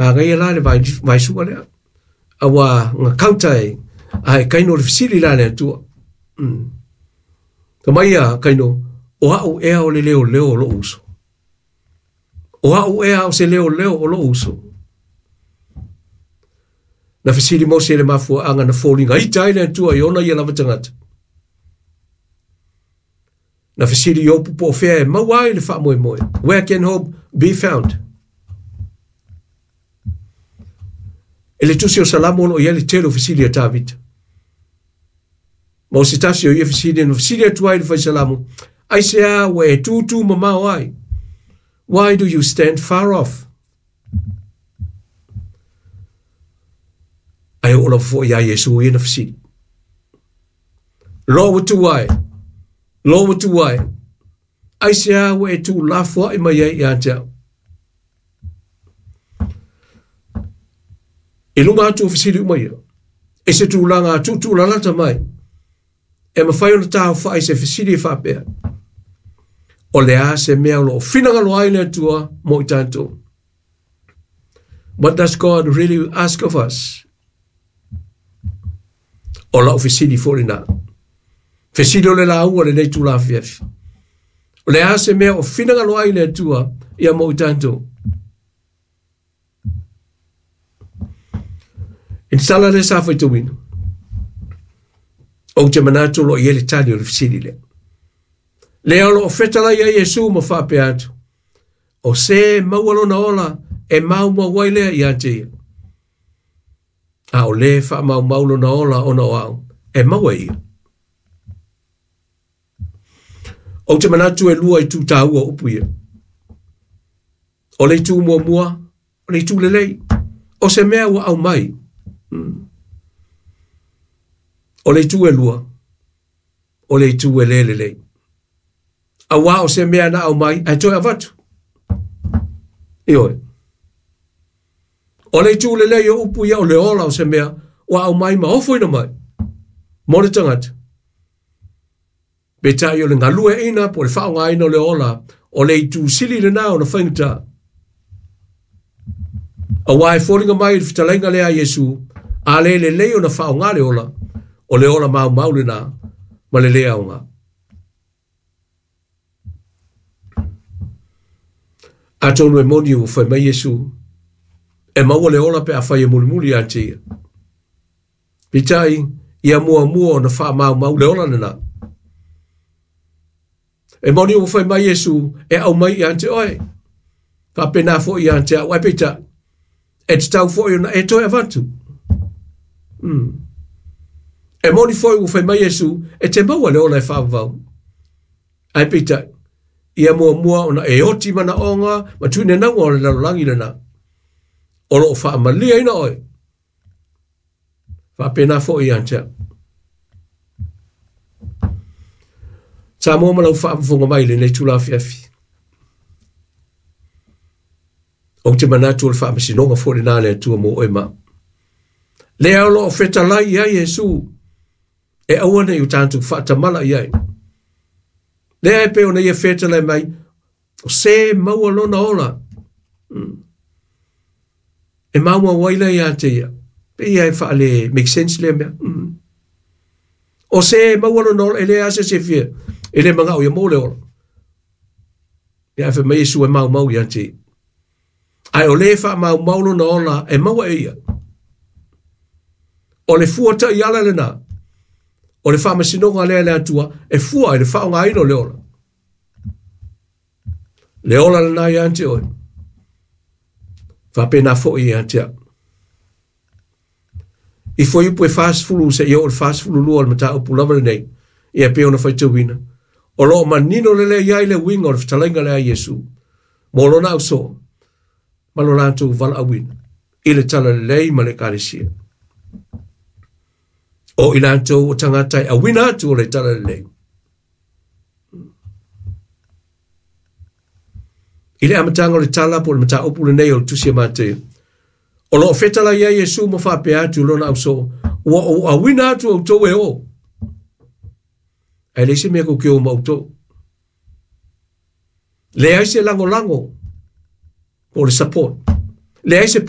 Manaia la le vaisua lea. Auā na counter ai, ae kaino o le fesili la a le Atua. Fai mai ia kaino, o au ea o le leoleo o lou uso. O au ea o se leoleo o lou uso. Na fesili Mose i le mafuaaga na foliga ita ai le Atua i ona ia lava tagata. Na fesili Iopu po o fea e maua ai le faamoemoe. Where can hope be found? E le tusi o Salamo o lo o i ai le tele o fesili a Tavita. Ma o se tasi o ia fesili na fesili atu ai le fai Salamo, aisea ua e tūtū mamao ai? Why do you stand far off? Ae oo lava foi ia Iesu ia na fesili. Lo ua tu ai, lo ua tu ai, aisea ua e tuulafoai mai ai ia te au? I luga atu o fesili uma ia, i se tulaga tuutuulalata mai, e mafai ona taofai se fesili e faapea, o le a se mea o lo o finagalo ai le Atua mo i tatou? What does God really ask of us? O lau fesili foi lena. Fesili o le lauga lenei itula afiafi. O le a se mea o finagalo ai le Atua ia mo i tatou? I le tala lea sa faitauina, ou te manatu o lo o i ai le tali o le fesili lea. Lea o lo o fetalai ai Iesu ma faapea atu, o se maua lona ola e maumau ai lea ia te ia. A o le faamaumau lona ola ona o au, e maua e ia. Ou te manatu e lua itu taua o upu ia. O le itu muamua, o le itu lelei. O se mea ua aumai. O le itu e lua, o le itu e le lelei. Auā o se mea na aumai, ae toe avatu. Ioe. O le itu lelei o upu ia o le ola o se mea ua aumai ma ofoina mai mo le tagata. Peitai o le galueaiina po o le faaaogaina o le ola, o le itu sili lena ona faigata. Auā e foliga mai i le fetalaiga lea a Iesu, a le lelei ona faaaoga le ola, o le ola maumau lena ma le le aoga. Atonu e moni ua fai mai Iesu, e maua le ola pe afai e mulimuli ia te ia. Peitai, ia muamua ona faamaumau le ola lena. E moni ua fai mai Iesu e aumai ia te oe. Faapena foi ia te au. Ae peitai, e tatau foi ona e toe avatu. E moni foi ua fai mai Iesu e te maua le ola e faavavau. Ae peitai, ia muamua ona e oti manaoga ma tuinenauga o le lalolagi lena. O lo o faamaliaina oe. Faapena foi ia te au. Samoa ma lau faafofoga mai i lenei itula afiafi. Ou te manatu o le faamasinoga foi lena a le Atua mo oe ma au. Lea o lo o fetalai i ai Iesu e aua ne i o tatou faatamala i ai. Lea e pei ona ia fetalai mai, o se maua lona ola. E maumau ai lea ia te ia. Pe ia e faale make sense lea mea. O se maua lona ola, e leai lava se isi e fia, e le manao ia maua le ola. Ia ae fai mai Iesu e maumau ia te ia. Ae o le faamaumau lona ola e maua e ia. O le fua taiala lena. O le faamasinoga lea a le Atua e fua i le faaaogaina o le ola. Le ola lena ia te oe. Faapena foi ia te au. I fuaiupu e 40 seia oo i le 42 o le mataupu lava lenei, ia pei ona faitauina, o lo o manino lelei ai le uiga o le fetalaiga lea a Iesu mo lona ausoo ma lo latou valaauina i le talalelei ma le Ekalesia. O i latou o tagata e auina atu o le talalelei. I le amataga o le tala po o le mataupu lenei o le Tusi a Mateo, o lo o fetalai ai Iesu ma faapea atu i lona ausoo, ua ou auina atu outou e o. Ae leai se mea kou te o ma outou. Leai se lagolago po o le support. Leai se pui